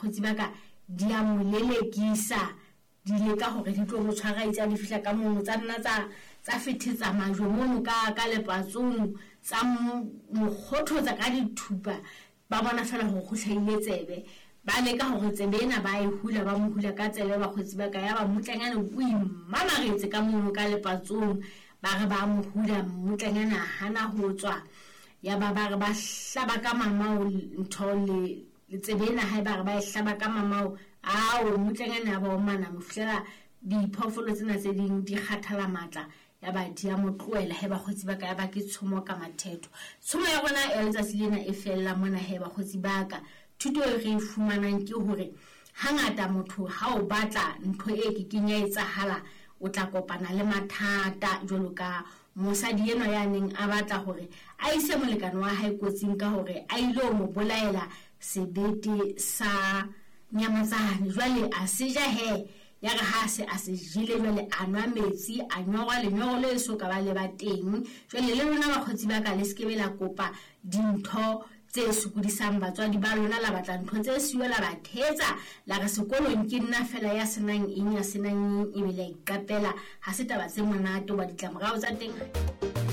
Bakgotsi ba ka, di a mo lelekisa, di leka hore di tlo mo tshwara. Itse ha di fihla ka mono, tsa nna tsa fethetsa majwe mono ka lepatsong, tsa mo kgothotsa ka dithupa. Ba bona fela hore ho hlahile tsebe, ba leka hore tsebe ena ba e hula, ba mo hula ka tsebe. Bakgotsi ba ka, ya ba mmutlanyana o imamaretse ka mono ka lepatsong. Ba re ba mo hula, mmutlanyana a hana ho tswa. Ya ba ba re ba hlaba ka mamao ntho le tsebe ena hae, ba re ba e hlaba ka mamao ao, mmutlanyana ya ba o mana mo fihlela diphoofolo tsena tse ding di kgathala matla, ya ba di a mo tlohela. He bakgotsi ba ka, ya ba ke tshomo ka mathetho. Tshomo ya rona ya letsatsi lena e fella mona. He bakgotsi ba ka, thuto e re e fumanang ke hore hangata motho ha o batla ntho e kekeng ya etsahala, o tla kopana le mathata, jwalo ka mosadi enwa ya neng a batla hore a ise molekane wa hae kotsing ka hore a ile ho mo bolaela sebete sa nyamatsane. Jwale a se ja, he ya re ha se a se jele, jwale a nwa metsi, a nyorwa lenyoro le so ka ba le ba teng. Jwale le lona bakgotsi ba ka, le se ke be la kopa dintho tse sokodisang batswadi ba lona, la batla ntho tse siyo, la ba thetsa, la re sekolong ke nna fela ya senang eng, ya senang eng, ebe la iqapela. Ha se taba tse monate, hoba ditlamorao tsa teng.